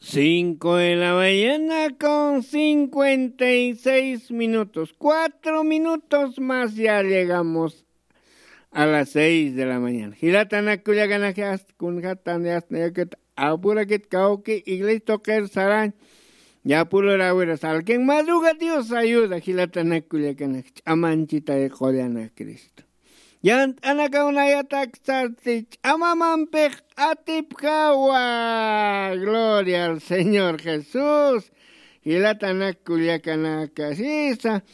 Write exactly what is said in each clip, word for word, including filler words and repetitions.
Cinco de la mañana con cincuenta y seis minutos. Cuatro minutos más ya llegamos a las seis de la mañana. Jilatanak kullakanaka, kunjatan yasnayakit apurakit kawki iglesia toqer sarañ. Yapulur awira salkin madruga Dios ayuda jilatanak kullakanaka, ch'amanchita qullana Cristo. Yant'anakaw nayatak sarti ch'amamampix atipjawa. Gloria al Señor Jesús. Jilatanak kullakanaka sisa,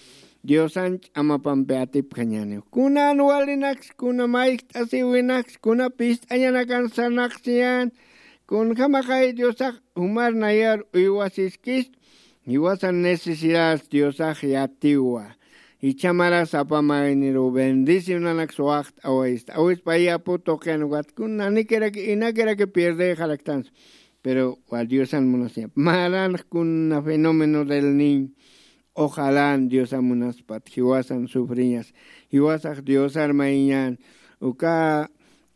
Diosan ch'amapampi atipjañaniw. Kunan walinaks, kuna mayjt'asiwinaks, kuna pist'añanakan sarnaqsiñan, kunjamaxay Diosax jumar nayar uywasiskis, jiwasan necesidad Diosax yatiwa. Jichha maras apamayniru bendicionanaks waxt'awaysta. Awispa yapu tuqin ukat kuna nanikiraki inakiraki pierdexaraktansa. Pero wa Diosan munasiñap. Maranx kuna fenómeno del niño. Ojalá Diosan munaspat. Jiwasan sufriñas. Jiwasax Diosar mayiñan. Uka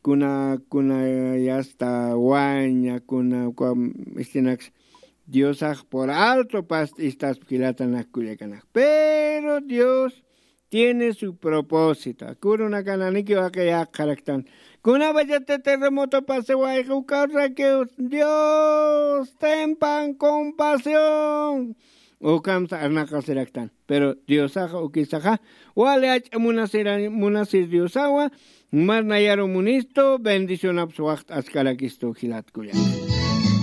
kuna, kuna yasta waña, kuna uka istinaks Diosax por alto past istas jilatanak kullakanak. Pero Dios tiene su propósito. Akurunakan aniki waqi yaqaraktan. Kunapachati terremoto pasewayqa ukarrakiw Dios tempan compasión. Ukamsa arnaqasiraktan. Pero Diosaxa ukisaxa wali ach'a munasira, munasir Diosawa, mar nayaru munistu, bendicionaps waxt'askarakistu jilat kullaka.